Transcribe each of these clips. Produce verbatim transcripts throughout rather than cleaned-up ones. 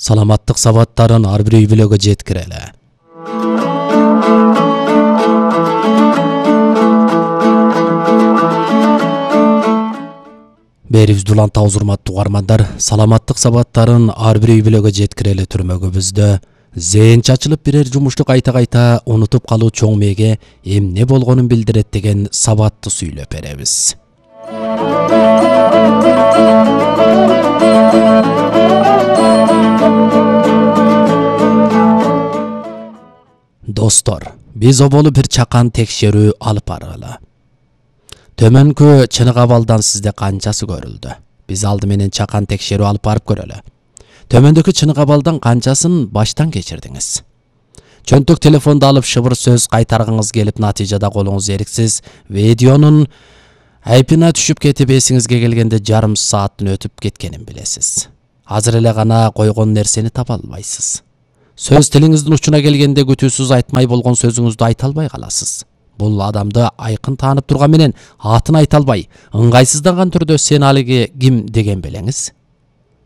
Саламаттык сабаттарын ар бир үй бүлөгө жеткирели. Берибизди улантабыз урматтуу угармандар. Саламаттык сабаттарын ар бир үй бүлөгө жеткирели түрмөгүбүздө зээн чачылып бирер жумушту кайта-кайта унутуп калуу чоң мээге эмне болгонун билдирет деген сабатты сүйлөп беребиз. Достор, биз оболу бир чакан текшерүү алып баргыла. Төмөнкү Чыныгабалдан сизде канчасы көрүлдү? Биз алды менен чакан текшерүү алып барып көрөлү. Төмөндөгү Чыныгабалдан канчасын баштан кечирдиңиз? Чөнтөк телефонду алып шыбыр сөз кайтаргыңыз келип, натыйжада колуңуз эриксиз видеонун айпына түшүп кетип, эсиңизге келгенде жарым сааттын өтүп кеткенин билесиз. Азыр эле гана койгон нерсени таба албайсыз. Сөз тилиңиздин учуна келгенде күтүүсүз айтмай болгон сөзүңүздү айта албай каласыз. Бул адамды айкын таанып турган менен атын айта албай, ыңгайсызданган түрдө сен алиги ким деген белеңиз.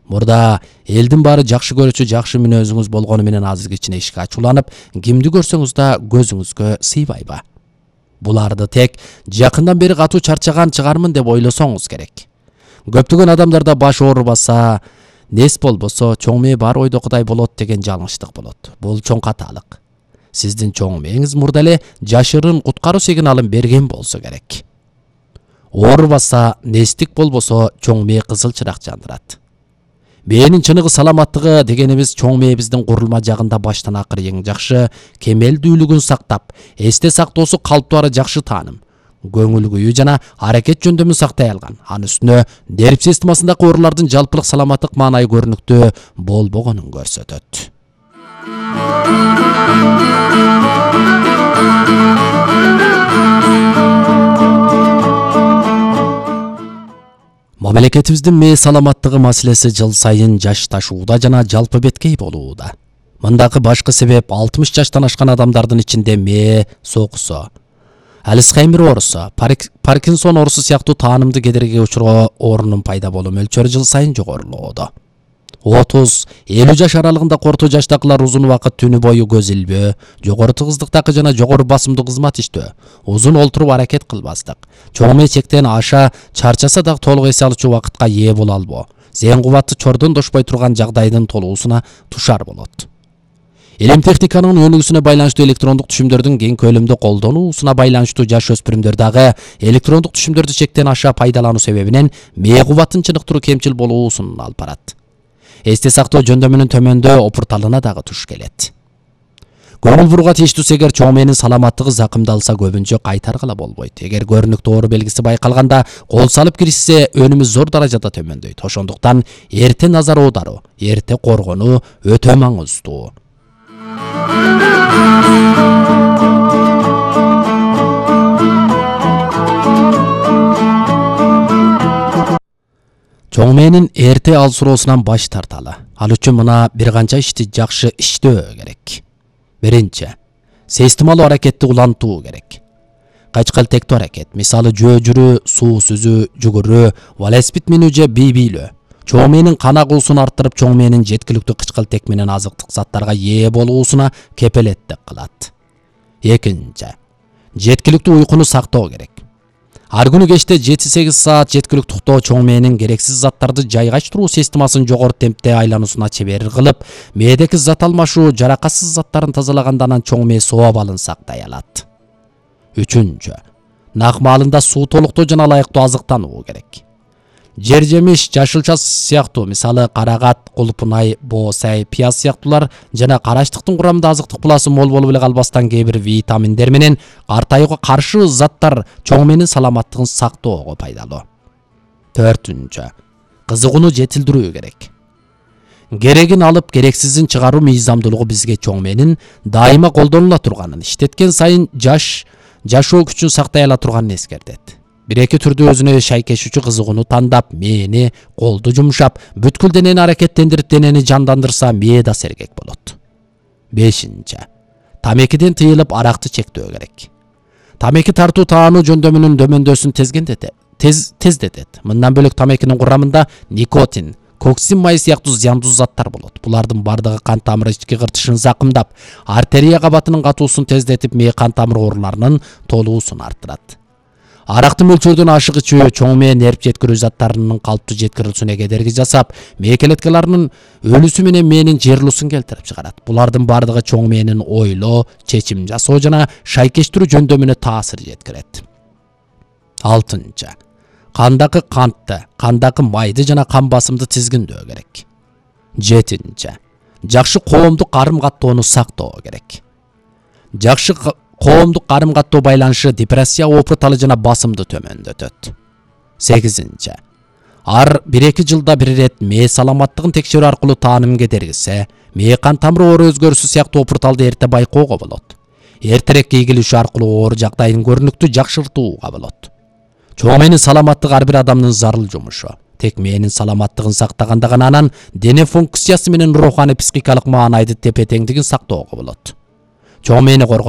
Мурда элдин баары жакшы көрүүчү жакшы мүнөзүңүз болгону менен азыр кичине ишке ачууланып, кимди көрсөңүз да көзүңүзгө сыйбайбы? Буларды тек жакындан бери катуу чарчаган чыгармын деп ойлосоңуз керек. Көптөгөн адамдарда баш оорубаса, нес болбосо, чоң мээ бар ойдокудай болот деген жалгычтык болот. Бул чоң каталык. Сиздин чоң мээңиз мурда эле жашырын куткаруу сигналын берген болсо керек. Оорубаса, нестик болбосо, чоң мээ кызыл чырак жандырат. Мээнин чыныгы саламаттыгы дегенибиз чоң мээбиздин курулма жагында баштан акыр эң жакшы кемелдүүлүгүн сактап, эсте сактоосу калыптуу жакшы тааным, көңүл күйүү жана аракет жөндөмүн сактай алган. Анын үстүнө нерв системасындагы оорулардын жалпылык саламаттык маанайы көрүнүктүү болбогонун көрсөтөт. Мамлекетибиздин мээ саламаттыгы маселеси жыл сайын жашташууда жана жалпы беткей болууда. Мындагы башкы себеп алтымыш жаштан ашкан адамдардын ичинде мээ соокусу, Альцхеймер оорусу, Паркинсон оорусу сыяктуу таанымды кедергиге учуроо оорунун пайда болуу мөлчөрү жыл сайын жогорулууда. отуз элүү жаш аралыгында орто жаштагылар узун убакыт түнү бою көз илбөө, жогору тыгыздыктагы жана жогору басымдуу кызмат иштөө, узун олтуруп аракет кылбастык, чоң мээ чектен аша чарчаса дагы толук эс алуучу убакытка ээ боло албоо, зээн кубаты чордон дошпой турган жагдайдын толуусуна тушар болот. Илим техниканын өнүгүүсүнө байланыштуу электрондук түшүмдөрдүн кең көлөмдө колдонуусуна байланыштуу жаш өспүрүмдөр дагы электрондук түшүмдөрдү чектен аша пайдалануу себебинен мээ кубатын чыныктыруу кемчил болуусун алып барат. Эсте сактоо жөндөмүнүн төмөндөө опурталына дагы туш келет. Көңүл бурууга тийиштүү эгер чоң мээнин саламаттыгы закымдалса, көбүнчө кайтаргыла болбойт. Эгер көрүнүктүү оору белгиси байкалганда кол салып киришсе, өнүмү зор даражада төмөндөйт. Ошондуктан эрте назар аударуу, эрте коргонуу өтө маңыздуу. Чоң мээнин эрте алсыроосунан баш тарталы. Ал үчүн мына бир канча ишти жакшы иштөө керек. Биринчи, системалуу аракетти улантуу керек. Качкалтектүү аракет, мисалы жөө жүрүү, суу сүзүү, жүгүрүү, велосипед минүү же бий бийлөө. Чоң мээнин кан агуусун арттырып, чоң мээнин жеткиликтүү кычкылтек менен азыктык заттарга ээ болуусуна кепелеттик кылат. Экинчи, жеткиликтүү уйкуну сактоо керек. Ар күнү кечте жети сегиз саат жеткиликтүү уктоо чоң мээнин керексиз заттарды жайгаштыруу системасын жогору темпте айлануусуна чебер кылып, мээдеки зат алмашуу, жаракатсыз заттарын тазалаганда анан чоң мээ соо абалын сактай алат. Үчүнчү, нак маалында суу толуктоо жана ылайыктуу азыктануу керек. Жер жемиш, жашылча сыяктуу, мисалы карагат, кулпунай, боосай, пияз сыяктуулар жана караштыктын курамында азыктык пласы мол болуп эле калбастан кээ бир витаминдер менен картаюуга каршы заттар чоң мээнин саламаттыгын сактоого пайдалуу. Төртүнчү, кызыгууну жетилдирүү керек. Керегин алып, керексизин чыгаруу мыйзамдуулугу бизге чоң мээнин дайыма колдонула турганын, иштеткен сайын жаш жашоо күчүн сактай ала турганын эскертет. Бир-эки түрдүү өзүнө шайкешүүчү кызыгууну тандап, мээни, колду жумшап, бүткүл денени аракеттендирип, денени жандандырса, мээ да сергек болот. Бешинчи, тамекиден тыйылып, аракты чектөө керек. Тамеки тартуу таануу жөндөмүнүн дөмөндөсүн тезгендете, тез тездетет. Мындан бөлөк тамекинин курамында никотин, коксин май сыяктуу зыяндуу заттар болот. Булардын бардыгы кан тамыры ички кыртышын закымдап, артерия кабатынын катуусун тездетип, мээ кан тамыр ооруларынын толуусун арттырат. Аракты мөлчөрдөн ашык ичүү чоң мээ нерв жеткирүү заттарынын калыптуу жеткирилүүсүнө кедерги жасап, мээ клеткаларынын өлүүсү менен мээнин жыйрылуусун келтирип чыгарат. Булардын бардыгы чоң мээнин ойлоо, чечим жасоо жана шайкештирүү жөндөмүнө таасир жеткирет. Алтынчы. Кандагы кантты, кандагы майды жана кан басымды тизгиндөө керек. Жетинчи. Жакшы коомдук карым-каттоону сактоо керек. Жакшы коомдук карым-каттоо байланышы депрессия опурталы жана басымды төмөндөтөт. Сегизинчи. Ар бир-эки жылда бир ирет мээ саламаттыгын текшерүү аркылуу тааным кедергиси, мээ кан тамыры оору өзгөрүшү сыяктуу опурталды эрте байкоого болот. Эртерээк ийгилишүү аркылуу оору жагдайын көрүнүктүү жакшыртууга болот. Чоң мээнин саламаттыгы ар бир адамдын зарыл жумушу. Тек мээнин саламаттыгын сактаганда гана анан дене функциясы менен руханий психикалык маанайды тепе-теңдигин сактоого болот. Чоң мээни